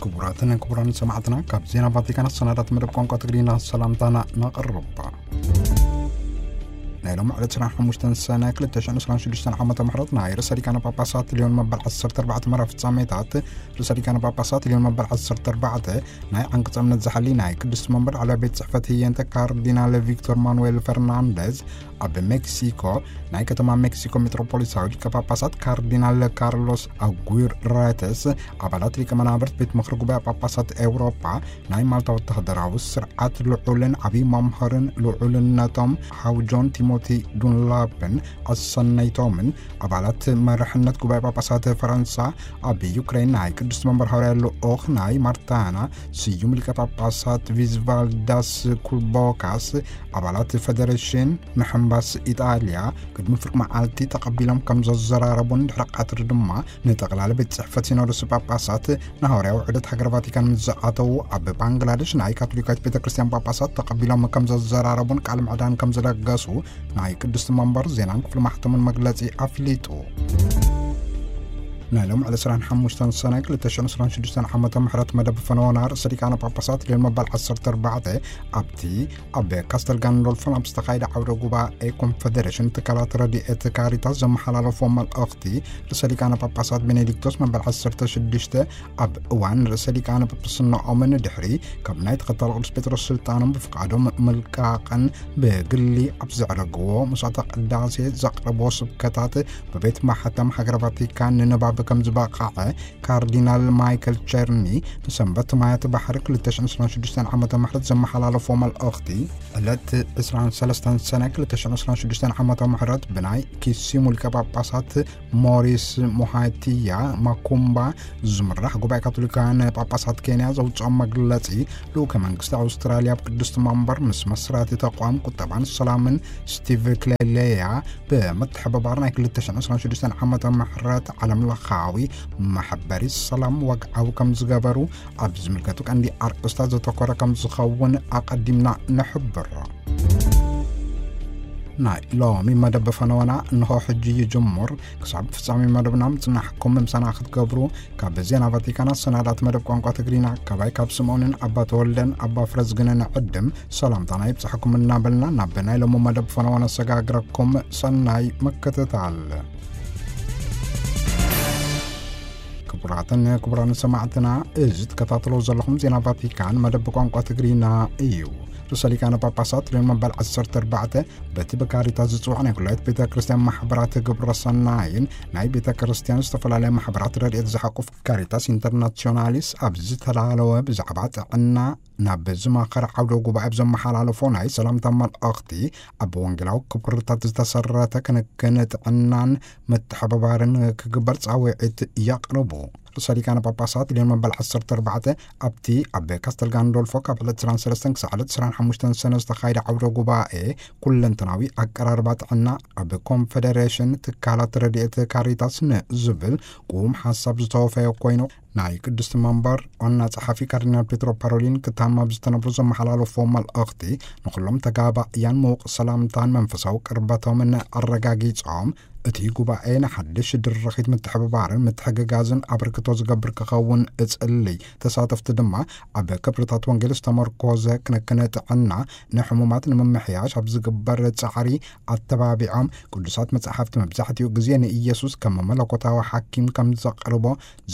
ክቡራትን ክቡራን ሰማዕትና፣ ካብ ዜና ቫቲካን ኣሰናዳት መደብ ቋንቋ ትግርኛ ሰላምታና ነቕርብ። ናይ ሎም ዕለት ዕስራን ሓሙሽተን ሰነ ክልተ ሽሕን ዕስራን ሽዱሽተን ዓመተ ምሕረት ናይ ርእሰ ሊቃነ ጳጳሳት ሊዮን መበል ዓሰርተ ኣርባዕተ መርሃ ፍጻሜታት፣ ርእሰ ሊቃነ ጳጳሳት ሊዮን መበል ዓሰርተ ኣርባዕተ ናይ ዓንቀጸ እምነት ዝሓሊ ናይ ቅድስቲ መንበር ዓለባ ቤት ጽሕፈት ህየንተ ካርዲናል ቪክቶር ማኑኤል ፈርናንደዝ፣ ኣብ ሜክሲኮ ናይ ከተማ ሜክሲኮ ሜትሮፖሊታዊ ሊቀ ጳጳሳት ካርዲናል ካርሎስ ኣጉይረተስ፣ ኣባላት ሊቀ መናብርት ቤት ምኽሪ ጉባኤ ጳጳሳት ኤውሮጳ፣ ናይ ማልታ ወተሃደራዊ ስርዓት ልዑልን ዓብዪ መምህርን ልዑልነቶም ሓው ጆን ቲሞቲ ዱንላፕን ኣሰነይቶምን፣ ኣባላት መርሕነት ጉባኤ ጳጳሳት ፈረንሳ፣ ኣብ ዩክሬን ናይ ቅድስቲ መንበር ሃዋርያ ልኡኽ ናይ ማርታና ስዩም ሊቀ ጳጳሳት ቪዝቫልዳስ ኩልቦካስ፣ ኣባላት ፈደሬሽን ምሕንባስ ኢጣልያ፣ ቅድሚ ፍርቂ መዓልቲ ተቐቢሎም ከም ዘዘራረቡን ድሕሪ ቀትሪ ድማ ንጠቕላሊ ቤት ጽሕፈት ሲኖዶስ ጳጳሳት ንሃዋርያዊ ዑደት ሃገረ ቫቲካን ምስ ዝኣተዉ፣ ኣብ ባንግላደሽ ናይ ካቶሊካዊት ቤተ ክርስቲያን ጳጳሳት ተቐቢሎም ከም ዘዘራረቡን ቃል ምዕዳን ከም ዝለገሱ ናይ ቅድስቲ መንበር ዜናን ክፍሊ ማሕተሙን መግለጺ ኣፍሊጡ። ናይ ሎም ዕለት ዕስራን ሓሙሽተን ሰነ ክልተ ሽሕን ዕስራን ሽዱሽተን ዓመተ ምሕረት መደብ ፈነወና ርእሰ ሊቃነ ጳጳሳት ሊዮን መበል ዓሰርተ ኣርባዕተ ኣብቲ ኣብ ካስተል ጋንዶልፎን ኣብ ዝተኻየደ ዓውደ ጉባኤ ኮንፈደሬሽን ትካላት ረድኤት ካሪታስ ዘመሓላለፎ መልእኽቲ፣ ርእሰ ሊቃነ ጳጳሳት ቤኔዲክቶስ መበል ዓሰርተ ሽዱሽተ ኣብ እዋን ርእሰ ሊቃነ ጳጳስናኦምን ድሕሪ ካብ ናይ ተኸታሊ ቅዱስ ጴጥሮስ ስልጣኖም ብፍቃዶም ምልቃቕን ብግሊ ኣብ ዘዕረግዎ መስዋዕተ ቅዳሴ ዘቕረብዎ ስብከታት ብቤት ማሕተም ሃገረ ቫቲካን ንንባብ ከም ዝበቕዐ ካርዲናል ማይክል ቸርኒ ንሰንበት ማያት ባሕሪ ክልተ ሽሕን ዕስራን ሽዱሽተን ዓመተ ምሕረት ዘመሓላለፎ መልእኽቲ፣ ዕለት ዕስራን ሰለስተን ሰነ ክልተ ሽሕን ዕስራን ሽዱሽተን ዓመተ ምሕረት ብናይ ኪሲሙ ሊቀ ጳጳሳት ሞሪስ ሞሃቲያ ማኩምባ ዝምራሕ ጉባኤ ካቶሊካውያን ጳጳሳት ኬንያ ዘውፅኦ መግለፂ፣ ልኡከ መንግስቲ ኣውስትራልያ ኣብ ቅድስቲ መንበር ምስ መስራቲ ተቋም ቁጠባን ሰላምን ስቲቭ ክሌሌያ ብምትሕብባር ናይ ክልተ ሽሕን ዕስራን ሽዱሽተን ዓመተ ምሕረት ዓለም ለኻዊ መሐበሪ ሰላም ወግዓዊ ከም ዝገበሩ ኣብ ዝምልከቱ ቀንዲ ኣርእስታት ዘተኮረ ከም ዝኸውን ኣቐዲምና ንሕብር። ናይ ሎሚ መደብ ፈነወና እንሆ ሕጂ ይጅምር። ክሳብ ፍጻሜ መደብና ምጽናሕኩም ምሳና ክትገብሩ ካብ ዜና ቫቲካን ኣሰናዳት መደብ ቋንቋ ትግርኛ ካባይ ካብ ስምኦንን ኣባ ተወልደን ኣባ ፍረዝግንን ዕድም ሰላምታና ይብጻሕኩም እናበልና ናብ ናይ ሎሚ መደብ ፈነወና ሰጋግረኩም። ሰናይ ምክትታል። ክቡራትን ክቡራን ሰማዕትና፣ እዚ ትከታተሎ ዘለኹም ዜና ቫቲካን መደብ ቋንቋ ትግርኛ እዩ። ርእሰ ሊቃነ ጳጳሳት ሊዮን መበል ዓሰርተ ኣርባዕተ በቲ ብካሪታስ ዝጽዋዕ ናይ ኩላይት ቤተ ክርስቲያን ማሕበራት ግብረ ሰናይን ናይ ቤተ ክርስቲያን ዝተፈላለያ ማሕበራት ረድኤት ዝሓቁፍ ካሪታስ ኢንተርናሲዮናሊስ ኣብ ዝተላለወ ብዛዕባ ጥዕና ናብ ዝማኸረ ዓውደ ጉባኤ ኣብ ዘመሓላለፎ ናይ ሰላምታ መልእኽቲ፣ ኣብ ወንጌላዊ ክብርታት ዝተሰረተ ክንክን ጥዕናን ምትሕብባርን ክግበር ጻውዒት የቕርቡ። ርእሰ ሊቃነ ጳጳሳት ሊዮን መበል ዓሰርተ ኣርባዕተ ኣብቲ ኣብ ካስተል ጋንዶልፎ ካብ ዕለት ዕስራን ሰለስተን ክሳዕ ዕለት ዕስራን ሓሙሽተን ሰነ ዝተኻየደ ዓውደ ጉባኤ፣ ኩለንተናዊ ኣቀራርባ ጥዕና ኣብ ኮንፈደሬሽን ትካላት ረድኤት ካሪታስ ንዝብል ቁም ሓሳብ ዝተወፈየ ኮይኑ፣ ናይ ቅድስቲ መንበር ዋና ጸሓፊ ካርዲናል ፔትሮ ፓሮሊን ክታም ኣብ ዝተነብሩ ዘመሓላለፎ መልእኽቲ፣ ንኹሎም ተጋባእያን ምዉቕ ሰላምታን መንፈሳዊ ቅርበቶምን ኣረጋጊጾም፣ እቲ ጉባኤ ንሓድሽ ድርኺት ምትሕብባርን ምትሕግጋዝን ኣበርክቶ ዝገብር ክኸውን እጽልይ። ተሳተፍቲ ድማ ኣብ ክብርታት ወንጌል ዝተመርኮዘ ክንክን ጥዕና፣ ንሕሙማት ንምምሕያሽ ኣብ ዝግበር ጻዕሪ ኣተባቢዖም፣ ቅዱሳት መጻሕፍቲ መብዛሕትኡ ግዜ ንኢየሱስ ከም መለኮታዊ ሓኪም ከም ዘቕርቦ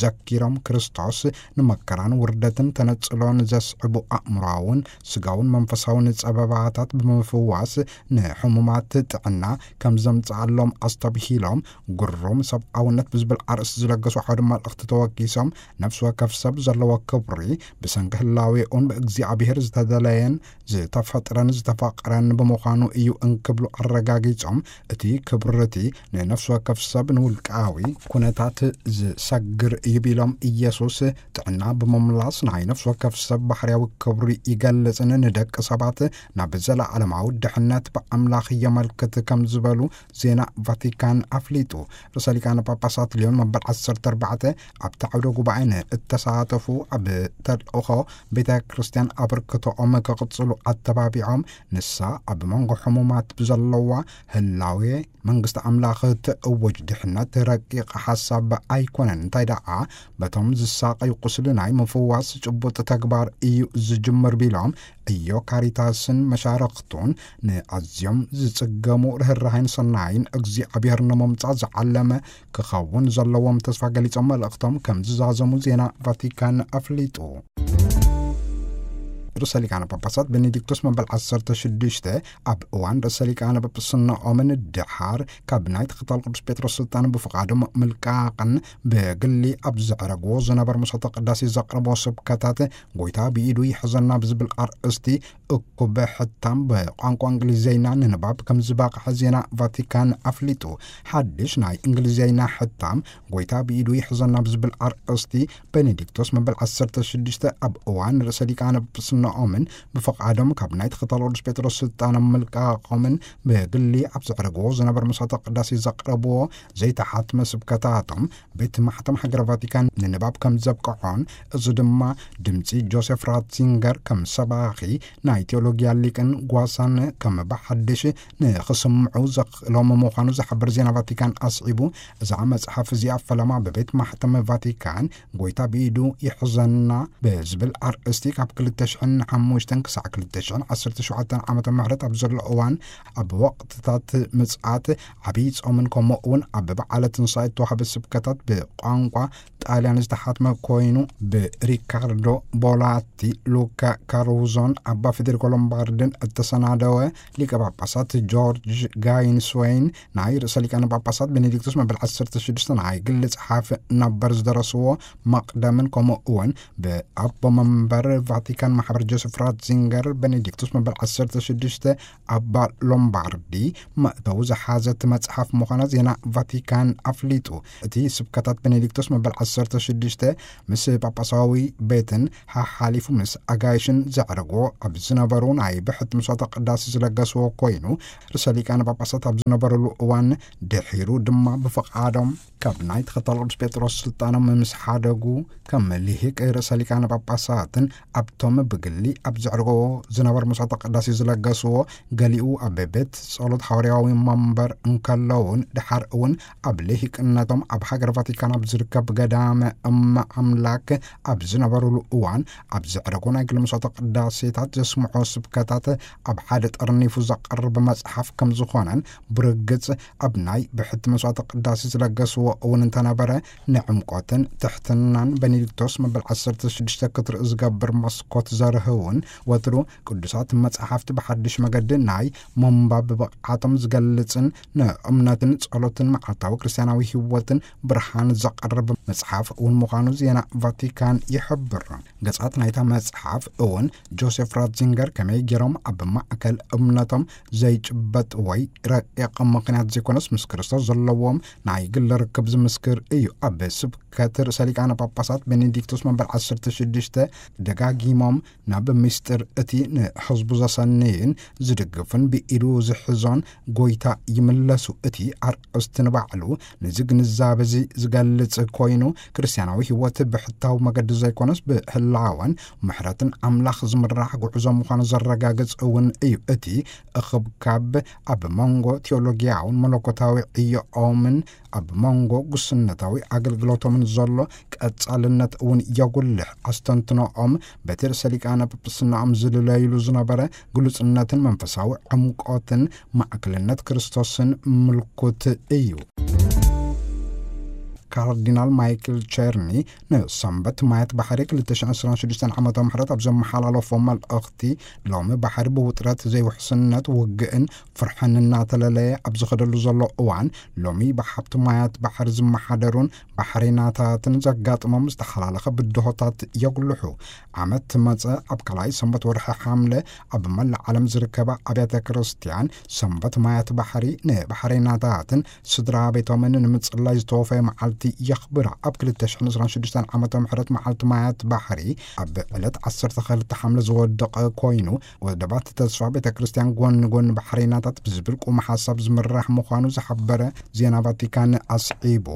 ዘኪሮም፣ ክርስቶስ ንመከራን ውርደትን ተነጽሎን ዘስዕቡ ኣእምሮኣውን ስጋውን መንፈሳውን ጸበባታት ብምፍዋስ ንሕሙማት ጥዕና ከም ዘምጽኣሎም ኣስተብሂሎም፣ ግሩም ሰብኣውነት ብዝብል ኣርእስቲ ዝለገሱ ዓውደ መልእኽቲ ተወኪሶም፣ ነፍሲ ወከፍ ሰብ ዘለዎ ክብሪ ብሰንኪ ህላዌኡን ብእግዚኣብሔር ዝተደለየን ዝተፈጥረን ዝተፈቕረን ብምዃኑ እዩ እንክብሉ ኣረጋጊጾም፣ እቲ ክብሪ እቲ ንነፍሲ ወከፍ ሰብ ንውልቃዊ ኩነታት ዝሰግር እዩ ቢሎም፣ ኢየሱስ ጥዕና ብምምላስ ናይ ነፍሲ ወከፍ ሰብ ባህርያዊ ክብሪ ይገልጽን ንደቂ ሰባት ናብ ዘለዓለማዊ ድሕነት ብኣምላኽ የመልክት ከም ዝበሉ ዜና ቫቲካን ኣፍሊጡ። ርእሰ ሊቃነ ጳጳሳት ሊዮን መበል ዓሰርተ ኣርባዕተ ኣብ ኣብቲ ዓውደ ጉባኤ ንእተሳተፉ ኣብ ተልእኾ ቤተ ክርስቲያን ኣበርክቶኦም ክቕጽሉ ኣተባቢዖም፣ ንሳ ኣብ መንጎ ሕሙማት ብዘለዋ ህላዌ መንግስቲ ኣምላኽ ትእውጅ ድሕነት ረቂቕ ሓሳብ ኣይኮነን፣ እንታይ ደኣ በቶም ዝሳቐዩ ቁስሊ ናይ ምፍዋስ ጭቡጥ ተግባር እዩ ዝጅምር ቢሎም፣ እዮ ካሪታስን መሻርኽቱን ንኣዝዮም ዝጽገሙ ርህራሄን ሰናይን እግዚኣብሔር ንምምጻእ ዝዓለመ ክኸውን ዘለዎም ተስፋ ገሊጾም፣ መልእኽቶም ከም ዝዛዘሙ ዜና ቫቲካን ኣፍሊጡ። ርእሰ ሊቃነ ጳጳሳት ቤኔዲክቶስ መበል ዓሰርተ ሽዱሽተ ኣብ እዋን ርእሰ ሊቃነ ጳጳስነኦምን ድሓር ካብ ናይ ተኸታል ቅዱስ ጴጥሮስ ስልጣን ብፍቓዶም ምልቃቕን ብግሊ ኣብ ዘዕረግዎ ዝነበረ ምሶተ ቅዳሴ ዘቕረቦ ስብከታት፣ ጎይታ ብኢዱ ይሕዘና ብዝብል ኣርእስቲ እኩብ ሕታም ብቋንቋ እንግሊዝኛ ንንባብ ከም ዝበቕሐ ዜና ቫቲካን ኣፍሊጡ። ሓድሽ ናይ እንግሊዝኛ ሕታም ጎይታ ብኢዱ ይሕዘና ብዝብል ኣርእስቲ፣ ቤኔዲክቶስ መበል ዓሰርተ ሽዱሽተ ኣብ እዋን ርእሰ ሊቃነ ጳጳስነኦምን ብፍቓዶም ካብ ናይ ተኸታል ቅዱስ ጴጥሮስ ስልጣኖም ምልቃቖምን ብግሊ ኣብ ዘዕረግዎ ዝነበረ መስዋዕተ ቅዳሴ ዘቕረብዎ ዘይተሓትመ ስብከታቶም ቤት ማሕተም ሃገረ ቫቲካን ንንባብ ከም ዘብቅዖን፣ እዚ ድማ ድምጺ ጆሴፍ ራትዚንገር ከም ሰባኺ ናይ ቴዎሎጊያ ሊቅን ጓሳን ከም ብሓድሽ ንኽስምዑ ዘኽእሎም ምዃኑ ዝሓብር ዜና ቫቲካን ኣስዒቡ፣ እዛ መጽሓፍ እዚኣ ፈለማ ብቤት ማሕተም ቫቲካን ጎይታ ብኢዱ ይሕዘና ብዝብል ኣርእስቲ ካብ ክልተ ሽሕን ሓሙሽተን ክሳዕ ክልተ ሽሕን ዓሰርተ ሸውዓተን ዓመተ ምህረት ኣብ ዘሎ እዋን፣ ኣብ ወቕትታት ምጽኣት፣ ዓብዪ ጾምን ከምኡ እውን ኣብ በዓለ ትንሳኤ እተዋህበ ስብከታት ብቋንቋ ጣልያን ዝተሓትመ ኮይኑ፣ ብሪካርዶ ቦላቲ፣ ሉካ ካሩዞን ኣባ ፌዴሪኮ ሎምባርድን እተሰናደወ፣ ሊቀ ጳጳሳት ጆርጅ ጋይንስወይን ናይ ርእሰ ሊቃነ ጳጳሳት ቤኔዲክቶስ መበል ዓሰርተ ሽዱሽተ ናይ ግሊ ጸሓፊ ነበር ዝደረስዎ መቕደምን ከምኡ እውን ብኣቦ መንበር ቫቲካን ማሕበር ጆሴፍ ራትዚንገር ቤኔዲክቶስ መበል ዓሰርተ ሽዱሽተ ኣባ ሎምባርዲ መእተዊ ዝሓዘት መጽሓፍ ምዃና ዜና ቫቲካን ኣፍሊጡ። እቲ ስብከታት ቤኔዲክቶስ መበል ዓሰርተ ሽዱሽተ ምስ ጳጳሳዊ ቤትን ሓሓሊፉ ምስ ኣጋይሽን ዘዕረግዎ ኣብ ዝነበሩ ናይ ብሕቲ መስዋዕተ ቅዳሴ ዝለገስዎ ኮይኑ፣ ርእሰ ሊቃነ ጳጳሳት ኣብ ዝነበሩሉ እዋን ድሒሩ ድማ ብፍቓዶም ካብ ናይ ተኸታል ቅዱስ ጴጥሮስ ስልጣኖም ምስ ሓደጉ፣ ከም ልሂቅ ርእሰ ሊቃነ ጳጳሳትን ኣብቶም ብግሊ ኣብ ዘዕርጎ ዝነበሩ መስዋዕተ ቅዳሴ ዝለገስዎ፣ ገሊኡ ኣብ ቤት ጸሎት ሃዋርያዊ መንበር እንከለውን፣ ድሓር እውን ኣብ ልሂቅነቶም ኣብ ሃገር ቫቲካን ኣብ ዝርከብ ገዳመ እመ ኣምላክ ኣብ ዝነበሩሉ እዋን፣ ኣብ ዘዕረጎ ናይ ግሊ መስዋዕተ ቅዳሴታት ዘስምዖ ስብከታት ኣብ ሓደ ጠርኒፉ ዘቐርብ መጽሓፍ ከም ዝኾነን፣ ብርግጽ ኣብ ናይ ብሕቲ መስዋዕተ ቅዳሴ ዝለገስዎ እውን እንተነበረ፣ ንዕምቆትን ትሕትናን ቤኔዲክቶስ መበል ዓሰርተ ሽዱሽተ ክትርኢ ዝገብር መስኮት ዘርህውን፣ ወትሩ ቅዱሳት መጻሕፍቲ ብሓድሽ መገዲ ናይ ምንባብ ብቕዓቶም ዝገልጽን፣ ንእምነትን ጸሎትን መዓልታዊ ክርስትያናዊ ህይወትን ብርሃን ዘቕርብ መጽሓፍ እውን ምዃኑ ዜና ቫቲካን ይሕብር። ገጻት ናይታ መጽሓፍ እውን ጆሴፍ ራትዚንገር ከመይ ገይሮም ኣብ ማእከል እምነቶም ዘይጭበጥ ወይ ረቂቕ ምኽንያት ዘይኮነስ፣ ምስ ክርስቶስ ዘለዎም ናይ ግሊ ርክብ ዝምስክር እዩ። ኣብ ስብከት ርእሰ ሊቃነ ጳጳሳት ቤኔዲክቶስ መበል ዓሰርተ ሽዱሽተ ደጋጊሞም ናብ ምስጢር እቲ ንሕዝቡ ዘሰንይን ዝድግፍን ብኢዱ ዝሕዞን ጎይታ ይምለሱ። እቲ ኣርእስቲ ንባዕሉ ነዚ ግንዛበ እዚ ዝገልጽ ኮይኑ፣ ክርስትያናዊ ህይወት ብሕታዊ መገዲ ዘይኮነስ፣ ብህላወን ምሕረትን ኣምላኽ ዝምራሕ ጉዕዞ ምዃኑ ዘረጋግጽ እውን እዩ። እቲ እኽብካብ ኣብ መንጎ ቴዎሎጊያውን መለኮታዊ ዕዮኦምን ኣብ መንጎ ጉስነታዊ ኣገልግሎቶምን ዘሎ ቀጻልነት እውን የጉልሕ። ኣስተንትኖኦም በቲ ርእሰ ሊቃነ ጳጳስናኦም ዝልለይሉ ዝነበረ ግሉጽነትን መንፈሳዊ ዕምቆትን ማዕከልነት ክርስቶስን ምልኩት እዩ። ካርዲናል ማይክል ቸርኒ ንሰንበት ማያት ባሕሪ ክልተ ሽሕን ዕስራን ሽዱሽተን ዓመተ ምህረት ኣብ ዘመሓላለፎ መልእኽቲ፣ ሎሚ ባሕሪ ብውጥረት፣ ዘይውሕስነት፣ ውግእን ፍርሕን እናተለለየ ኣብ ዝኸደሉ ዘሎ እዋን፣ ሎሚ ብሓብቲ ማያት ባሕሪ ዝመሓደሩን ባሕሬናታትን ዘጋጥሞም ዝተሓላለኸ ብድሆታት የጉልሑ። ዓመት መጸ ኣብ ካልኣይ ሰንበት ወርሒ ሓምለ ኣብ መላእ ዓለም ዝርከባ ኣብያተ ክርስቲያን ሰንበት ማያት ባሕሪ ንባሕሬናታትን ስድራ ቤቶምን ንምጽላይ ዝተወፈየ መዓልቲ መዓልቲ የኽብራ። ኣብ ክልተ ሽሕን ዕስራን ሽዱሽተን ዓመተ ምሕረት መዓልቲ ማያት ባሕሪ ኣብ ዕለት ዓሰርተ ክልተ ሓምለ ዝወደቐ ኮይኑ፣ ወደባት ተስፋ ቤተ ክርስቲያን ጎኒ ጎኒ ባሕረይናታት ብዝብል ቁም ሓሳብ ዝምራሕ ምዃኑ ዝሓበረ ዜና ቫቲካን ኣስዒቡ፣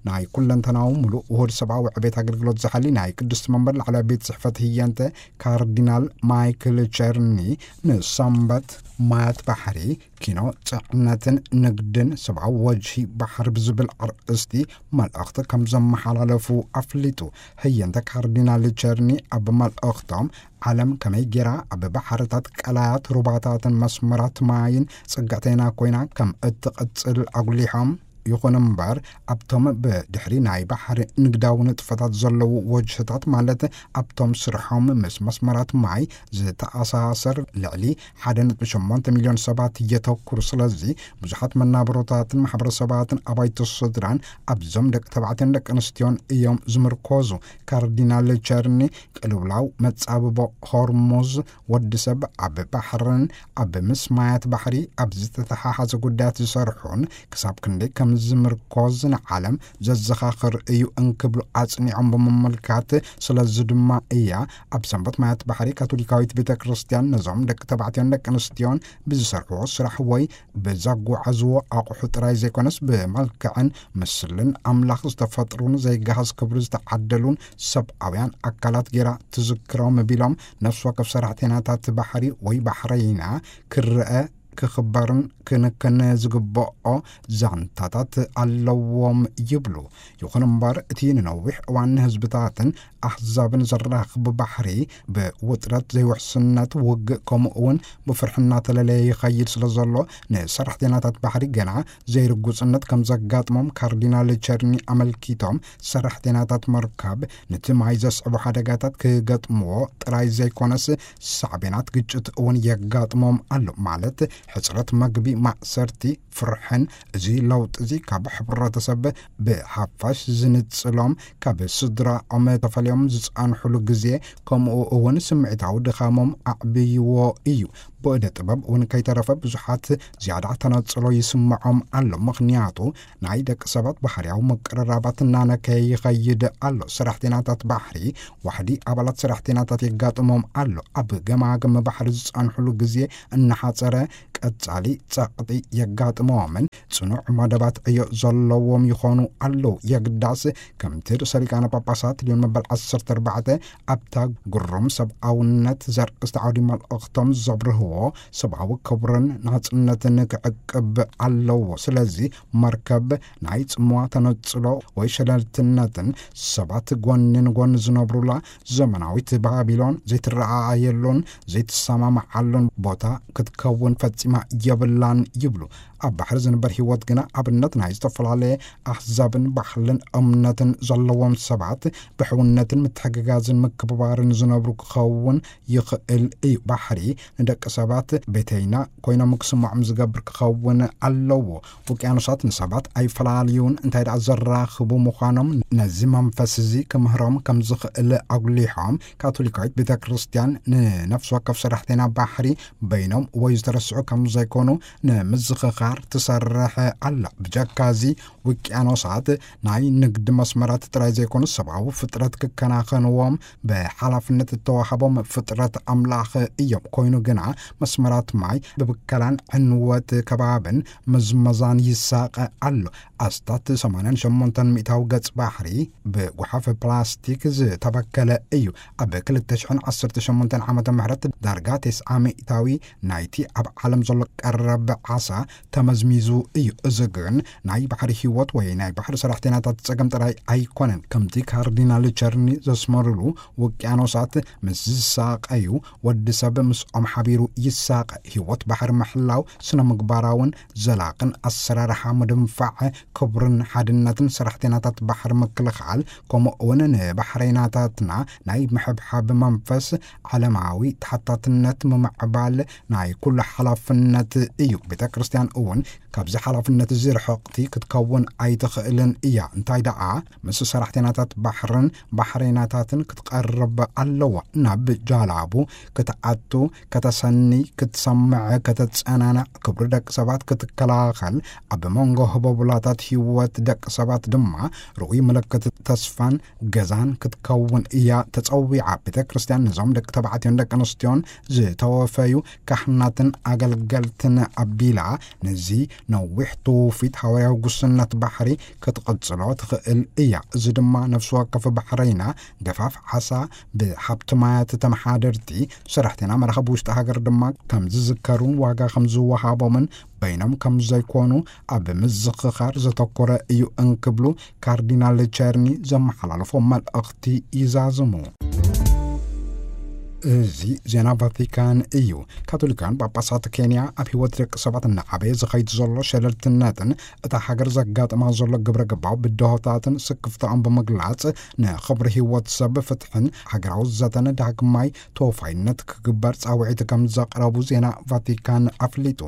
ናይ ኩለንተናዊ ምሉእ ውሁድ ሰብኣዊ ዕቤት ኣገልግሎት ዝሓሊ ናይ ቅድስቲ መንበር ላዕለዋይ ቤት ጽሕፈት ህየንተ ካርዲናል ማይክል ቸርኒ ንሰንበት ማያት ባሕሪ፣ ኪኖ፣ ጽዕነትን ንግድን ሰብኣዊ ወጅሂ ባሕሪ ብዝብል ኣርእስቲ መልእኽቲ ከም ዘመሓላለፉ ኣፍሊጡ። ህየንተ ካርዲናል ቸርኒ ኣብ መልእኽቶም፣ ዓለም ከመይ ጌራ ኣብ ባሕርታት፣ ቀላያት፣ ሩባታትን መስመራት ማይን ጽግዕተይና ኮይና ከም እትቕጽል ኣጉሊሖም፣ ይኹን እምበር ኣብቶም ብድሕሪ ናይ ባሕሪ ንግዳዊ ንጥፈታት ዘለዉ ወጅህታት፣ ማለት ኣብቶም ስርሖም ምስ መስመራት ማይ ዝተኣሳሰር ልዕሊ ሓደ ነጥቢ ሸሞንተ ሚልዮን ሰባት የተኩር። ስለዚ ብዙሓት መናብሮታትን ማሕበረሰባትን ኣባይቲ ስድራን ኣብዞም ደቂ ተባዕትዮን ደቂ ኣንስትዮን እዮም ዝምርኮዙ። ካርዲናል ቸርኒ ቅልውላው መጻብቦ ሆርሙዝ፣ ወዲ ሰብ ኣብ ባሕርን ኣብ ምስ ማያት ባሕሪ ኣብ ዝተተሓሓዘ ጉዳያት ዝሰርሑን ክሳብ ክንደይ ከም ዝምርኮዝ ንዓለም ዘዘኻኽር እዩ እንክብሉ ኣጽኒዖም ብምምልካት፣ ስለዚ ድማ እያ ኣብ ሰንበት ማያት ባሕሪ ካቶሊካዊት ቤተ ክርስቲያን ነዞም ደቂ ተባዕትዮን ደቂ ኣንስትዮን ብዝሰርሕዎ ስራሕ ወይ ብዘጓዓዝዎ ኣቑሑ ጥራይ ዘይኮነስ ብመልክዕን ምስልን ኣምላኽ ዝተፈጥሩን ዘይገሃስ ክብሪ ዝተዓደሉን ሰብኣውያን ኣካላት ጌራ ትዝክሮም ቢሎም፣ ነፍሲ ወከፍ ሰራሕተኛታት ባሕሪ ወይ ባሕረይና ክረአ፣ ክኽበርን ክንክን ዝግብኦ ዛንታታት ኣለዎም ይብሉ። ይኹን እምበር እቲ ንነዊሕ እዋን ንህዝብታትን ኣህዛብን ዘራኽብ ባሕሪ ብውጥረት፣ ዘይውሕስነት፣ ውግእ ከምኡ እውን ብፍርሒ እናተለለየ ይኸይድ ስለ ዘሎ፣ ንሰራሕተኛታት ባሕሪ ገና ዘይርጉጽነት ከም ዘጋጥሞም ካርዲናል ቸርኒ ኣመልኪቶም፣ ሰራሕተኛታት መርከብ ነቲ ማይ ዘስዕቡ ሓደጋታት ክገጥምዎ ጥራይ ዘይኮነስ ሳዕቤናት ግጭት እውን የጋጥሞም ኣሎ። ማለት ሕጽረት መግቢ፣ ማእሰርቲ፣ ፍርሕን። እዚ ለውጢ እዚ ካብ ሕብረተሰብ ብሓፋሽ ዝንጽሎም፣ ካብ ስድራኦም ተፈልዮም ዝጸንሑሉ ግዜ፣ ከምኡ እውን ስምዒታዊ ድኻሞም ኣዕብይዎ እዩ። ብእደ ጥበብ እውን ከይተረፈ ብዙሓት ዝያዳ ተነጽሎ ይስምዖም ኣሎ። ምኽንያቱ ናይ ደቂ ሰባት ባህርያዊ ምቅርራባት እናነከየ ይኸይድ ኣሎ። ሰራሕተኛታት ባሕሪ ዋሕዲ ኣባላት ሰራሕተኛታት የጋጥሞም ኣሎ። ኣብ ገማግም ባሕሪ ዝጸንሑሉ ግዜ እናሓጸረ፣ ቀጻሊ ጸቕጢ የጋጥሞምን ጽኑዕ መደባት ዕዮ ዘለዎም ይኾኑ ኣለዉ። የግዳስ ከምቲ ርእሰ ሊቃነ ጳጳሳት ሊዮን መበል ዓሰርተ ኣርባዕተ ኣብታ ግሩም ሰብኣውነት ዘርእስቲ ዓውዲ መልእኽቶም ዘብርህዎ፣ ሰብኣዊ ክብርን ናጽነትን ክዕቅብ ኣለዎ። ስለዚ መርከብ ናይ ጽምዋ፣ ተነጽሎ ወይ ሸለልትነትን ሰባት ጎኒ ንጎኒ ዝነብሩላ ዘመናዊት ባቢሎን ዘይትረኣኣየሉን ዘይትሰማማዓሉን ቦታ ክትከውን ፈጺማ የብላን ይብሉ። ኣብ ባሕሪ ዝንበር ህይወት ግና ኣብነት ናይ ዝተፈላለየ ኣህዛብን ባህልን እምነትን ዘለዎም ሰባት ብሕውነትን ምትሕግጋዝን ምክብባርን ዝነብሩ ክኸውን ይኽእል እዩ። ባሕሪ ንደቂ ሰባት ቤተይና ኮይኖም ክስምዖም ዝገብር ክኸውን ኣለዎ። ውቅያኖሳት ንሰባት ኣይፈላልዩን፣ እንታይ ደኣ ዘራኽቡ ምዃኖም ነዚ መንፈስ እዚ ክምህሮም ከም ዝኽእል ኣጉሊሖም፣ ካቶሊካዊት ቤተ ክርስቲያን ንነፍሲ ወከፍ ሰራሕተኛ ባሕሪ በይኖም ወይ ዝተረስዑ ከም ዘይኮኑ ንምዝኽኻር ትሰርሕ ኣላ። ብጀካ እዚ ውቅያኖሳት ናይ ንግድ መስመራት ጥራይ ዘይኮኑ፣ ሰብኣዊ ፍጥረት ክከናኸንዎም ብሓላፍነት እተዋህቦም ፍጥረት ኣምላኽ እዮም። ኮይኑ ግና መስመራት ማይ ብብከላን ዕንወት ከባብን ምዝመዛን ይሳቐ ኣሎ። ኣስታት ሰማንያን ሸሞንተን ሚእታዊ ገጽ ባሕሪ ብጓሓፍ ፕላስቲክ ዝተበከለ እዩ። ኣብ ክልተ ሽሕን ዓሰርተ ሸሞንተን ዓመተ ምህረት ዳርጋ ተስዓ ሚእታዊ ናይቲ ኣብ ዓለም ዘሎ ቀረብ ዓሳ ተመዝሚዙ እዩ። እዚ ግን ናይ ባሕሪ ህይወት ወይ ናይ ባሕሪ ሰራሕተኛታት ጸገም ጥራይ ኣይኮነን። ከምቲ ካርዲናል ቸርኒ ዘስመሩሉ፣ ውቅያኖሳት ምስ ዝሳቐዩ፣ ወዲ ሰብ ምስኦም ሓቢሩ ይሳቐ። ህይወት ባሕሪ ምሕላው፣ ስነ ምግባራውን ዘላቕን ኣሰራርሓ ምድንፋዕ ክብርን ሓድነትን ሰራሕተኛታት ባሕሪ ምክልኻል፣ ከምኡ እውን ንባሕረይናታትና ናይ ምሕብሓብ መንፈስ፣ ዓለማዊ ተሓታትነት ምምዕባል፣ ናይ ኩሉ ሓላፍ ሓላፍነት እዩ። ቤተ ክርስቲያን እውን ካብዚ ሓላፍነት እዚ ርሕቕቲ ክትከውን ኣይትኽእልን እያ። እንታይ ደኣ፣ ምስ ሰራሕተኛታት ባሕርን ባሕረይናታትን ክትቐርብ ኣለዋ። ናብ ጃላቡ ክትኣቱ፣ ከተሰኒ፣ ክትሰምዕ፣ ከተጸናንዕ፣ ክብሪ ደቂ ሰባት ክትከላኸል፣ ኣብ መንጎ ህቦብላታት ህይወት ደቂ ሰባት ድማ ርኡይ ምልክት ተስፋን ገዛን ክትከውን እያ ተጸዊዓ። ቤተ ክርስቲያን ነዞም ደቂ ተባዕትዮን ደቂ ኣንስትዮን ዝተወፈዩ ካህናትን ኣገልገልትን ኣቢላ፣ ነዚ ነዊሕ ትውፊት ሃዋርያዊ ጉስነት ባሕሪ ክትቕጽሎ ትኽእል እያ። እዚ ድማ ነፍሲ ወከፍ ባሕረይና ገፋፍ ዓሳ ብሃብቲ ማያት ተመሓደርቲ፣ ሰራሕተኛ መራኸቢ ውሽጢ ሃገር ድማ ከም ዝዝከሩን ዋጋ ከም ዝወሃቦምን በይኖም ከም ዘይኮኑ ኣብ ምዝኽኻር ዘተኮረ እዩ እንክብሉ ካርዲናል ቸርኒ ዘመሓላለፎ መልእኽቲ ይዛዝሙ። እዚ ዜና ቫቲካን እዩ። ካቶሊካን ጳጳሳት ኬንያ ኣብ ህይወት ደቂ ሰባት እናዓበየ ዝኸይድ ዘሎ ሸለልትነትን እታ ሃገር ዘጋጥማ ዘሎ ግብረ ገባዊ ብድሆታትን ስክፍታኦም ብምግላጽ፣ ንኽብሪ ህይወት ሰብ፣ ፍትሕን ሃገራዊ ዘተን ዳግማይ ተወፋይነት ክግበር ጻውዒት ከም ዘቕረቡ ዜና ቫቲካን ኣፍሊጡ።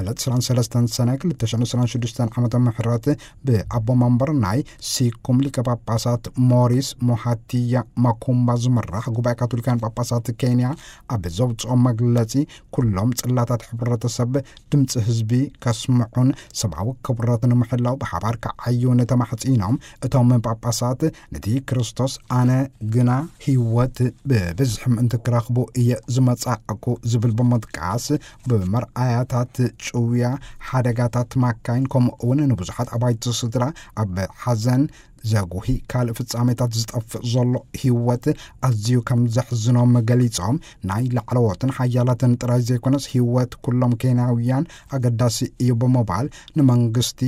ዕለት ዕስራን ሰለስተን ሰነ ክልተ ሽሕን ዕስራን ሽዱሽተን ዓመተ ምህረት ብኣቦ መንበር ናይ ሲኩም ሊቀ ጳጳሳት ሞሪስ ሞሃቲያ ማኩምባ ዝምራሕ ጉባኤ ካቶሊካን ጳጳሳት ኬንያ ኣብ ዘውፅኦ መግለፂ፣ ኩሎም ጽላታት ሕብረተሰብ ድምፂ ህዝቢ ከስምዑን ሰብኣዊ ክብረት ንምሕላው ብሓባር ክዓዩን ተማሕፂኖም። እቶም ጳጳሳት ነቲ ክርስቶስ ኣነ ግና ህይወት ብብዝሒ ምእንቲ ክረኽቡ እየ ዝመጻእኩ ዝብል ብምጥቃስ፣ ብመርኣያታት ጭውያ፣ ሓደጋታት ማካይን፣ ከምኡ እውን ንብዙሓት ኣባይቲ ስድራ ኣብ ሓዘን ዘጉሂ ካልእ ፍጻሜታት ዝጠፍእ ዘሎ ህይወት ኣዝዩ ከም ዘሕዝኖም ገሊጾም፣ ናይ ላዕለዎትን ሓያላትን ጥራይ ዘይኮነስ ህይወት ኩሎም ኬንያውያን ኣገዳሲ እዩ ብምባል፣ ንመንግስቲ፣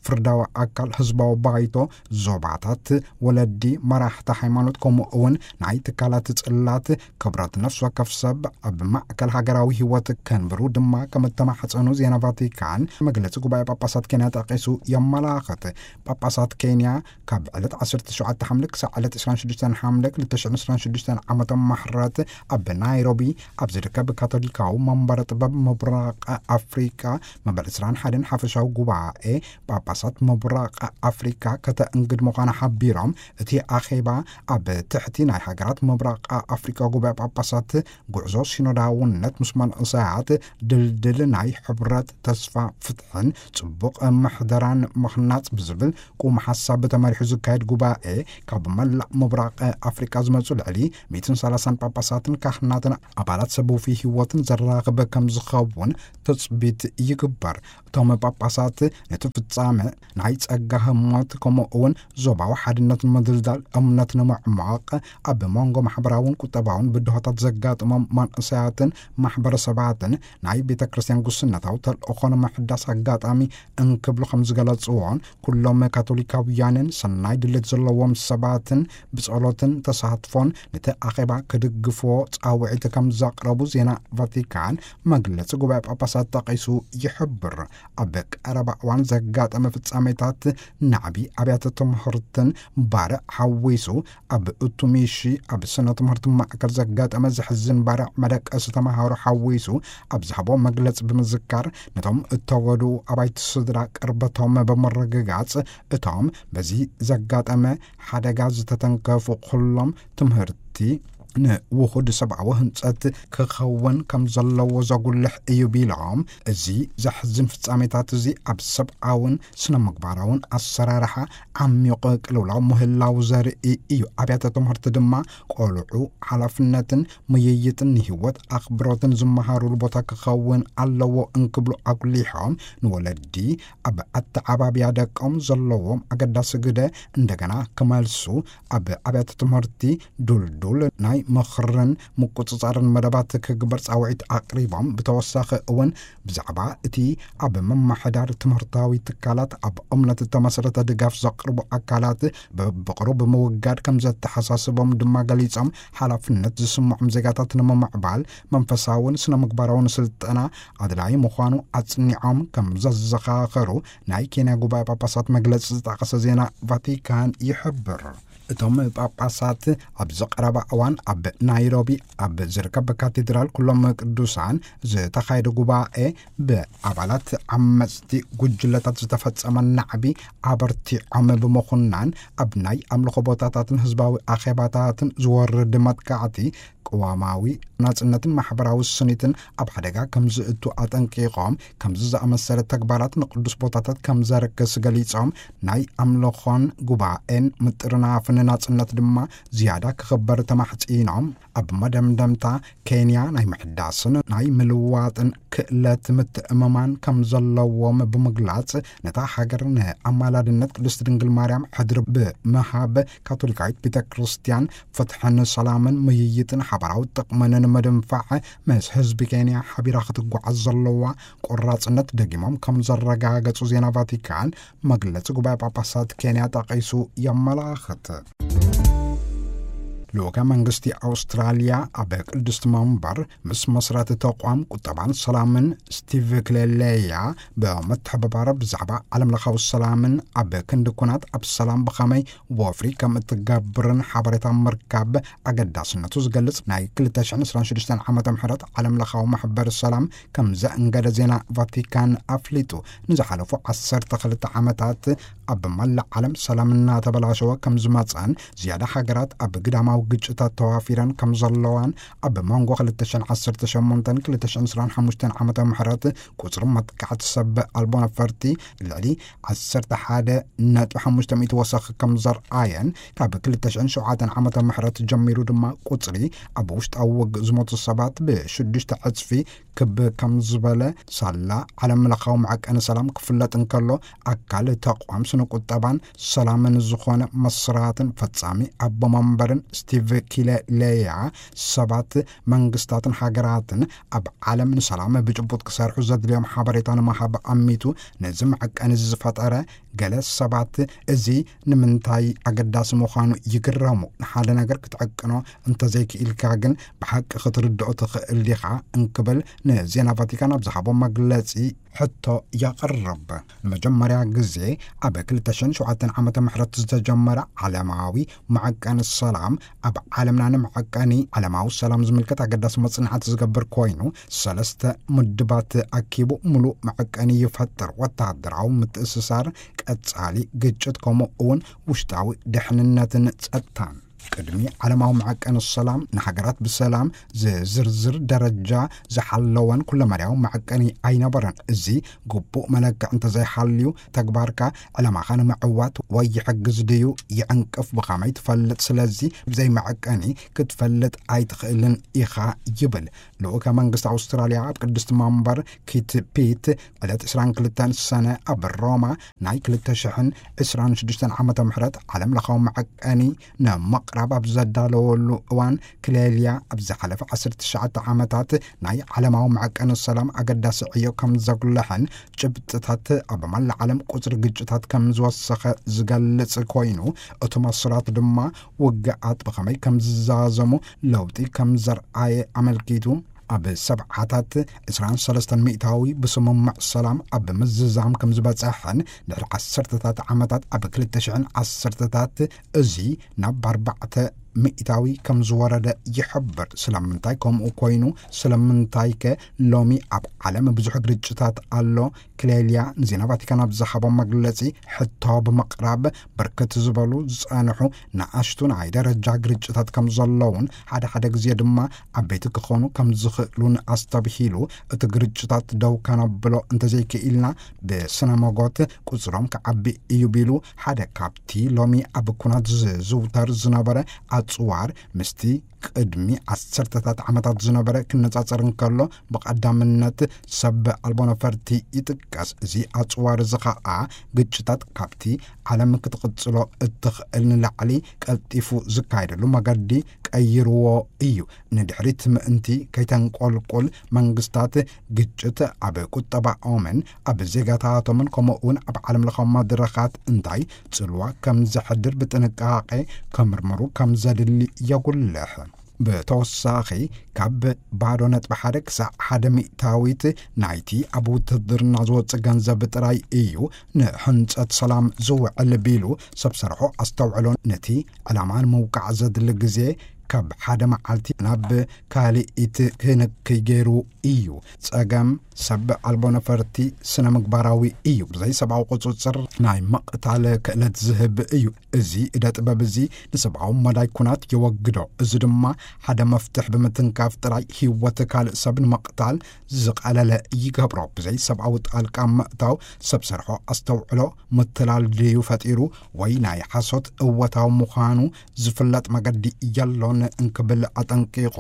ፍርዳዊ ኣካል፣ ህዝባዊ ባይቶ፣ ዞባታት፣ ወለዲ፣ መራሕቲ ሃይማኖት፣ ከምኡ እውን ናይ ትካላት ጽላት ክብረት ነፍሲ ወከፍ ሰብ ኣብ ማእከል ሃገራዊ ህይወት ከንብሩ ድማ ከም እተማሕጸኑ ዜና ቫቲካን መግለጺ ጉባኤ ጳጳሳት ኬንያ ጠቒሱ የመላኽት። ጳጳሳት ኬንያ ካብ ዕለት ዓሰርተ ሸውዓተ ሓምለ ክሳዕ ዕለት ዕስራን ሽዱሽተን ሓምለ ክልተ ሽሕን ዕስራን ሽዱሽተን ዓመተ ምሕረት ኣብ ናይሮቢ ኣብ ዝርከብ ካቶሊካዊ መንበረ ጥበብ ምብራቕ ኣፍሪቃ መበል ዕስራን ሓደን ሓፈሻዊ ጉባኤ ጳጳሳት ምብራቕ ኣፍሪካ ከተእንግድ ምዃና ሓቢሮም፣ እቲ ኣኼባ ኣብ ትሕቲ ናይ ሃገራት ምብራቕ ኣፍሪካ ጉባኤ ጳጳሳት ጉዕዞ ሲኖዳውነት ምስ መንእሰያት ድልድል ናይ ሕብረት፣ ተስፋ፣ ፍትሕን ጽቡቕ ምሕደራን ምኽናጽ ብዝብል ቁም ሓሳብ ተመሪሑ ዝካየድ ጉባኤ፣ ካብ መላእ ምብራቕ ኣፍሪካ ዝመጹ ልዕሊ ሚእትን ሰላሳን ጳጳሳትን ካህናትን ኣባላት ሰብ ውፉይ ህይወትን ዘራኽብ ከም ዝኸውን ትጽቢት ይግበር። እቶም ጳጳሳት ነቲ ፍጻመ ናይ ጸጋ ህሞት፣ ከምኡ እውን ዞባዊ ሓድነት ንምድልዳል፣ እምነት ንምዕማቕ፣ ኣብ መንጎ ማሕበራውን ቁጠባውን ብድሆታት ዘጋጥሞም መንእሰያትን ማሕበረሰባትን ናይ ቤተ ክርስቲያን ጉስነታዊ ተልእኾ ንምሕዳስ ኣጋጣሚ እንክብሉ ከም ዝገለጽዎን፣ ኩሎም ካቶሊካውያንን ሰናይ ድሌት ዘለዎም ሰባትን ብጸሎትን ተሳትፎን ነቲ ኣኼባ ክድግፍዎ ጻውዒት ከም ዘቕረቡ ዜና ቫቲካን መግለጺ ጉባኤ ጳጳሳት ጠቒሱ ይሕብር። ኣብ ቀረባ እዋን ዘጋጠመ ፍጻሜታት ናዕቢ ኣብያተ ትምህርትን ባርዕ ሓዊሱ፣ ኣብ ኡቱሚሺ ኣብ ስነ ትምህርቲ ማእከል ዘጋጠመ ዘሕዝን ባርዕ መደቀሲ ተምሃሮ ሓዊሱ ኣብ ዝሃቦ መግለጺ ብምዝካር፣ ነቶም እተወድኡ ኣባይቲ ስድራ ቅርበቶም ብምርግጋጽ፣ እቶም በዚ ዘጋጠመ ሓደጋ ዝተተንከፉ ኩሎም ትምህርቲ ንውሁድ ሰብኣዊ ህንጸት ክኸውን ከም ዘለዎ ዘጉልሕ እዩ ቢሎም፣ እዚ ዘሕዝን ፍጻሜታት እዚ ኣብ ሰብኣውን ስነ ምግባራውን ኣሰራርሓ ዓሚቑ ቅልውላው ምህላው ዘርኢ እዩ። ኣብያተ ትምህርቲ ድማ ቆልዑ ሓላፍነትን ምይይጥን ንህይወት ኣኽብሮትን ዝመሃሩሉ ቦታ ክኸውን ኣለዎ እንክብሉ ኣጉሊሖም፣ ንወለዲ ኣብ ኣተዓባብያ ደቆም ዘለዎም ኣገዳሲ ግደ እንደገና ክመልሱ፣ ኣብ ኣብያተ ትምህርቲ ዱልዱል ናይ ምኽርን ምቁጽጻርን መደባት ክግበር ጻውዒት ኣቕሪቦም፣ ብተወሳኺ እውን ብዛዕባ እቲ ኣብ ምምሕዳር ትምህርታዊ ትካላት ኣብ እምነት እተመስረተ ድጋፍ ዘቕርቡ ኣካላት በብቕሩብ ብምውጋድ ከም ዘተሓሳስቦም ድማ ገሊጾም፣ ሓላፍነት ዝስምዖም ዜጋታት ንምምዕባል መንፈሳውን ስነ ምግባራውን ስልጠና ኣድላዪ ምዃኑ ኣጽኒዖም ከም ዘዘኻኸሩ ናይ ኬንያ ጉባኤ ጳጳሳት መግለጺ ዝጠቐሰ ዜና ቫቲካን ይሕብር። እቶም ጳጳሳት ኣብዚ ቀረባ እዋን ኣብ ናይሮቢ ኣብ ዝርከብ ካቴድራል ኩሎም ቅዱሳን ዝተኻየደ ጉባኤ፣ ብኣባላት ዓመፅቲ ጉጅለታት ዝተፈጸመ ናዕቢ ኣበርቲዖም ብምኹናን፣ ኣብ ናይ ኣምልኾ ቦታታትን ህዝባዊ ኣኼባታትን ዝወርድ መጥቃዕቲ ቅዋማዊ ናጽነትን ማሕበራዊ ስኒትን ኣብ ሓደጋ ከም ዝእቱ ኣጠንቂቖም፣ ከምዚ ዝኣመሰለ ተግባራት ንቅዱስ ቦታታት ከም ዘርክስ ገሊጾም፣ ናይ ኣምልኾን ጉባኤን ምጥርናፍን ናጽነት ድማ ዝያዳ ክኽበር ተማሕጺኖም። ኣብ መደምደምታ፣ ኬንያ ናይ ምሕዳስን ናይ ምልዋጥን ክእለት ምትእምማን ከም ዘለዎም ብምግላጽ፣ ነታ ሃገር ንኣማላድነት ቅድስት ድንግል ማርያም ሕድሪ ብምሃብ፣ ካቶሊካዊት ቤተ ክርስቲያን ፍትሕን ሰላምን ምይይጥን ሓባራዊ ጥቕምን ንምድንፋዕ፣ ምስ ህዝቢ ኬንያ ሓቢራ ክትጓዓዝ ዘለዋ ቆራጽነት ደጊሞም ከም ዘረጋገጹ ዜና ቫቲካን መግለጺ ጉባኤ ጳጳሳት ኬንያ ጠቒሱ የመላኽት። ልኡከ መንግስቲ ኣውስትራልያ ኣብ ቅድስቲ መንበር ምስ መስራቲ ተቋም ቁጠባን ሰላምን ስቲቭ ክሌሌያ ብምትሕብባር፣ ብዛዕባ ዓለም ለኻዊ ሰላምን ኣብ ክንዲ ኩናት ኣብ ሰላም ብኸመይ ወፍሪ ከም እትገብርን ሓበሬታ ምርካብ ኣገዳስነቱ ዝገልጽ ናይ ክልተ ሽሕን ዕስራን ሽዱሽተን ዓመተ ምህረት ዓለም ለኻዊ ማሕበር ሰላም ከም ዘእንገደ ዜና ቫቲካን ኣፍሊጡ። ንዝሓለፉ ዓሰርተ ክልተ ዓመታት ኣብ መላእ ዓለም ሰላም እናተበላሸወ ከም ዝመጸን፣ ዝያዳ ሃገራት ኣብ ግዳማዊ ግጭታት ተዋፊረን ከም ዘለዋን፣ ኣብ መንጎ ክልተ ሽሕን ዓሰርተ ሸሞንተን ክልተ ሽሕን ዕስራን ሓሙሽተን ዓመተ ምህረት ቁጽሪ መጥቃዕቲ ሰብ ኣልቦ ነፈርቲ ልዕሊ ዓሰርተ ሓደ ነጥቢ ሓሙሽተ ሚእቲ ወሰኽ ከም ዘርኣየን፣ ካብ ክልተ ሽሕን ሸውዓተን ዓመተ ምህረት ጀሚሩ ድማ ቁጽሪ ኣብ ውሽጣዊ ውግእ ዝሞቱ ሰባት ብሽዱሽተ ዕጽፊ ክብ ከም ዝበለ፣ ሳላ ዓለም ለኻዊ መዐቀኒ ሰላም ክፍለጥ እንከሎ፣ ኣካል ተቋም ስነ ቁጠባን ሰላምን ዝኾነ መስራትን ፈጻሚ ኣቦ መንበርን ስቲቭ ኪለሌያ፣ ሰባት፣ መንግስታትን ሃገራትን ኣብ ዓለም ንሰላም ብጭቡጥ ክሰርሑ ዘድልዮም ሓበሬታ ንምሃብ ኣሚቱ፣ ነዚ መዐቀኒ ዝፈጠረ፣ ገለ ሰባት እዚ ንምንታይ ኣገዳሲ ምዃኑ ይግረሙ። ንሓደ ነገር ክትዕቅኖ እንተዘይክኢልካ ግን፣ ብሓቂ ክትርድኦ ትኽእል ዲኻ? እንክብል ንዜና ቫቲካን ኣብ ዝሃቦ መግለጺ ሕቶ የቕርብ። ንመጀመርያ ግዜ ኣብ ክልተ ሽሕን ሸውዓተን ዓመተ ምህረት ዝተጀመረ ዓለማዊ መዐቀኒ ሰላም፣ ኣብ ዓለምና ንመዐቀኒ ዓለማዊ ሰላም ዝምልከት ኣገዳሲ መጽናዕቲ ዝገብር ኮይኑ፣ ሰለስተ ምድባት ኣኪቡ ምሉእ መዐቀኒ ይፈጥር። ወተሃደራዊ ምትእስሳር፣ ቀጻሊ ግጭት፣ ከምኡ እውን ውሽጣዊ ድሕንነትን ጸጥታን። ቅድሚ ዓለማዊ መዐቀኒ ሰላም፣ ንሃገራት ብሰላም ዝዝርዝር ደረጃ ዝሓለወን ኩለመዳያዊ መዐቀኒ ኣይነበረን። እዚ ግቡእ መለክዕ እንተዘይሃልዩ፣ ተግባርካ ዕላማኻ ንምዕዋት ወይ ይሕግዝ ድዩ ይዕንቅፍ፣ ብኸመይ ትፈልጥ? ስለዚ ብዘይ መዐቀኒ ክትፈልጥ ኣይትኽእልን ኢኻ ይብል። ልኡከ መንግስቲ ኣውስትራልያ ኣብ ቅድስቲ መንበር ኪት ፒት ዕለት ዕስራን ክልተን ሰነ ኣብ ሮማ ናይ ክልተ ሽሕን ዕስራን ሽዱሽተን ዓመተ ምህረት ዓለም ለኻዊ መዐቀኒ ንምቕራብ ኣብ ዘዳለወሉ እዋን፣ ክሌልያ ኣብ ዝሓለፈ ዓሰርተ ትሽዓተ ዓመታት ናይ ዓለማዊ መዐቀኒ ሰላም ኣገዳሲ ዕዮ ከም ዘጉልሐን፣ ጭብጥታት ኣብ መላእ ዓለም ቁጽሪ ግጭታት ከም ዝወሰኸ ዝገልጽ ኮይኑ፣ እቲ መስራት ድማ ውግኣት ብኸመይ ከም ዝዛዘሙ ለውጢ ከም ዘርኣየ ኣመልኪቱ፣ ኣብ ሰብዓታት ዕስራን ሰለስተን ሚእታዊ ብስምምዕ ሰላም ኣብ ምዝዛም ከም ዝበጸሐን፣ ድሕሪ ዓሰርተታት ዓመታት ኣብ ክልተ ሽሕን ዓሰርተታት እዚ ናብ ኣርባዕተ ሚእታዊ ከም ዝወረደ ይሕብር። ስለምንታይ ከምኡ ኮይኑ? ስለምንታይከ ሎሚ ኣብ ዓለም ብዙሕ ግርጭታት ኣሎ? ክሌልያ ንዜና ቫቲካን ኣብ ዝሃቦ መግለጺ ሕቶ ብምቕራብ፣ ብርክት ዝበሉ ዝጸንሑ ንኣሽቱ ናይ ደረጃ ግርጭታት ከም ዘለውን፣ ሓደ ሓደ ግዜ ድማ ዓበይቲ ክኾኑ ከም ዝኽእሉን ኣስተብሂሉ፣ እቲ ግርጭታት ደው ከነብሎ እንተዘይክኢልና፣ ብስነ መጎት ቁጽሮም ክዓቢ እዩ ቢሉ፣ ሓደ ካብቲ ሎሚ ኣብ ኩናት ዝዝውተር ዝነበረ ኣጽዋር ምስቲ ቅድሚ ዓሰርተታት ዓመታት ዝነበረ ክነጻጸር እንከሎ፣ ብቐዳምነት ሰብ ኣልቦ ነፈርቲ ይጥቀስ። እዚ ኣጽዋር እዚ ኸኣ፣ ግጭታት ካብቲ ዓለም ክትቕጽሎ እትኽእል ንላዕሊ ቀልጢፉ ዝካየደሉ መገዲ ቀይርዎ እዩ። ንድሕሪት ምእንቲ ከይተንቆልቁል፣ መንግስታት ግጭት ኣብ ቁጠባኦምን ኣብ ዜጋታቶምን፣ ከምኡ እውን ኣብ ዓለም ለኻዊ መድረኻት እንታይ ጽልዋ ከም ዘሕድር ብጥንቃቄ ከምርምሩ ከም ዘድሊ የጉልሕ። ብተወሳኺ፣ ካብ ባዶ ነጥቢ ሓደ ክሳዕ ሓደ ሚእታዊት ናይቲ ኣብ ውትድርና ዝወጽእ ገንዘብ ጥራይ እዩ ንሕንጸት ሰላም ዝውዕል ቢሉ፣ ሰብ ሰርሖ ኣስተውዕሎ ነቲ ዕላማ ንምውቃዕ ዘድሊ ግዜ ካብ ሓደ መዓልቲ ናብ ካልኢት ክንክይ ገይሩ እዩ። ጸገም ሰብ ኣልቦ ነፈርቲ ስነ ምግባራዊ እዩ። ብዘይ ሰብኣዊ ቁጽጽር ናይ ምቕታል ክእለት ዝህብ እዩ። እዚ እደ ጥበብ እዚ ንሰብኣዊ መዳይ ኩናት የወግዶ። እዚ ድማ ሓደ መፍትሕ ብምትንካፍ ጥራይ ህይወት ካልእ ሰብ ንምቕታል ዝቐለለ ይገብሮ። ብዘይ ሰብኣዊ ጣልቃ ምእታው ሰብ ሰርሖ ኣስተውዕሎ ምትላል ድዩ ፈጢሩ ወይ ናይ ሓሶት እወታዊ ምዃኑ ዝፍለጥ መገዲ የሎን እንክብል ኣጠንቂቑ፣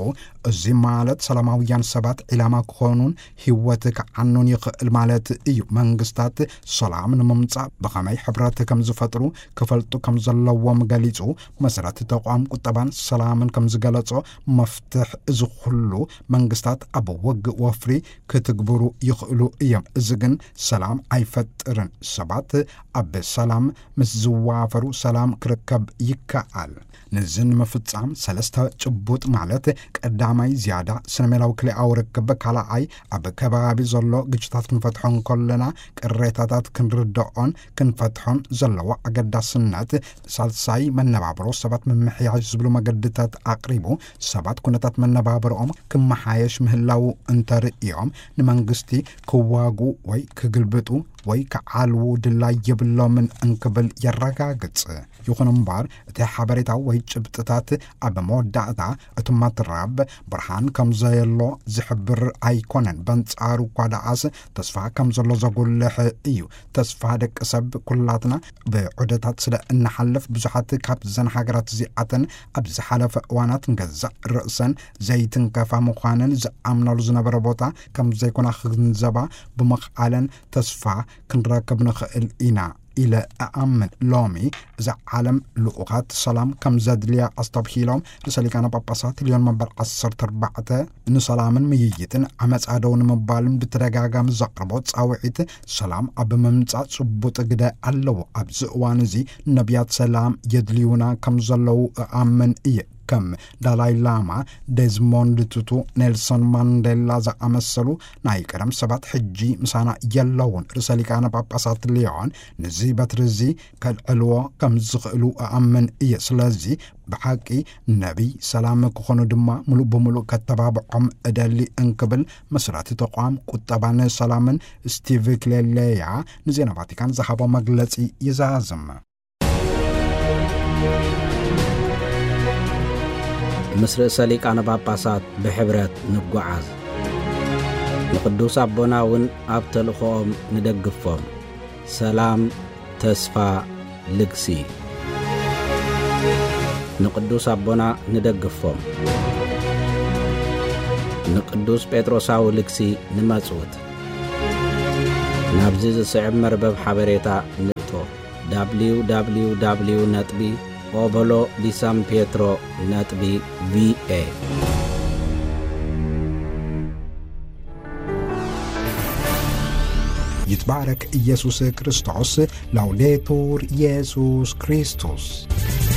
እዚ ማለት ሰላማውያን ሰባት ዒላማ ክኾኑን ህይወት ክዓኑን ይኽእል ማለት እዩ። መንግስታት ሰላም ንምምጻእ ብኸመይ ሕብረት ከም ዝፈጥሩ ክፈልጡ ከም ዘለዎም ገሊጹ፣ መሰረት ተቋም ቁጠባን ሰላምን ከም ዝገለጾ፣ መፍትሕ እዚ ኩሉ መንግስታት ኣብ ውግእ ወፍሪ ክትግብሩ ይኽእሉ እዮም። እዚ ግን ሰላም ኣይፈጥርን። ሰባት ኣብ ሰላም ምስ ዝዋፈሩ ሰላም ክርከብ ይከኣል። ነዚ ንምፍጻም ሰለስተ ጭቡጥ ማለት ቀዳማይ ዝያዳ ስነሜላዊ ክልኣዊ ርክብ፣ ካልኣይ ኣብ ከባቢ ዘሎ ግጭታት ክንፈትሖ እንከለና ቅሬታታት ክንርድኦን ክንፈትሖን ዘለዎ ኣገዳስነት፣ ሳልሳይ መነባብሮ ሰባት ምምሕያሽ ዝብሉ መገድታት ኣቕሪቡ ሰባት ኩነታት መነባብሮኦም ክመሓየሽ ምህላው እንተርእዮም ንመንግስቲ ክዋጉ ወይ ክግልብጡ ወይ ክዓልዉ ድላይ የብሎምን እንክብል የረጋግጽ። ይኹን እምበር እቲ ሓበሬታ ወይ ጭብጥታት ኣብ መወዳእታ እቲ መትረብ ብርሃን ከም ዘየሎ ዝሕብር ኣይኮነን። በንጻሩ እኳ ደኣስ ተስፋ ከም ዘሎ ዘጉልሕ እዩ። ተስፋ ደቂ ሰብ ኩላትና ብዑደታት ስለ እንሓልፍ ብዙሓት ካብዘን ሃገራት እዚኣተን ኣብ ዝሓለፈ እዋናት ንገዛእ ርእሰን ዘይትንከፋ ምዃነን ዝኣምናሉ ዝነበረ ቦታ ከም ዘይኮና ክግንዘባ ብምኽኣለን ተስፋ ክንረክብ ንኽእል ኢና ኢለ እኣምን። ሎሚ እዛ ዓለም ልኡኻት ሰላም ከም ዘድልያ ኣስተብሂሎም ርእሰ ሊቃነ ጳጳሳት ሊዮን መበል ዓሰርተ ኣርባዕተ ንሰላምን ምይይጥን ዓመጻ ደው ንምባልን ብተደጋጋሚ ዘቕርቦ ጻውዒት ሰላም ኣብ ምምጻእ ጽቡጥ ግደ ኣለዎ። ኣብዚ እዋን እዚ ነቢያት ሰላም የድልዩና ከም ዘለዉ እኣምን እየ። ከም ዳላይ ላማ፣ ዴዝሞንድ ቱቱ፣ ኔልሶን ማንዴላ ዝኣመሰሉ ናይ ቀደም ሰባት ሕጂ ምሳና የለውን። ርእሰ ሊቃነ ጳጳሳት ሊዮን ነዚ በትሪ እዚ ከልዕልዎ ከም ዝኽእሉ እኣምን እየ። ስለዚ ብሓቂ ነቢይ ሰላም ክኾኑ ድማ ምሉእ ብምሉእ ከተባብዖም እደሊ እንክብል መስራቲ ተቋም ቁጠባን ሰላምን ስቲቭ ክሌሌያ ንዜና ቫቲካን ዝሃቦ መግለጺ ይዛዝም። ምስ ርእሰ ሊቃነ ጳጳሳት ብሕብረት ንጓዓዝ። ንቅዱስ ኣቦና እውን ኣብ ተልእኾኦም ንደግፎም። ሰላም፣ ተስፋ፣ ልግሲ። ንቅዱስ ኣቦና ንደግፎም። ንቅዱስ ጴጥሮሳዊ ልግሲ ንመጽውት። ናብዚ ዝስዕብ መርበብ ሓበሬታ ንእቶ። ደብሊው ደብሊው ደብሊው ነጥቢ ኦቦሎ ዲ ሳን ፔትሮ ነጥቢ ቪኤ። ይትባረክ ኢየሱስ ክርስቶስ። ላውዴቱር ኢየሱስ ክርስቶስ።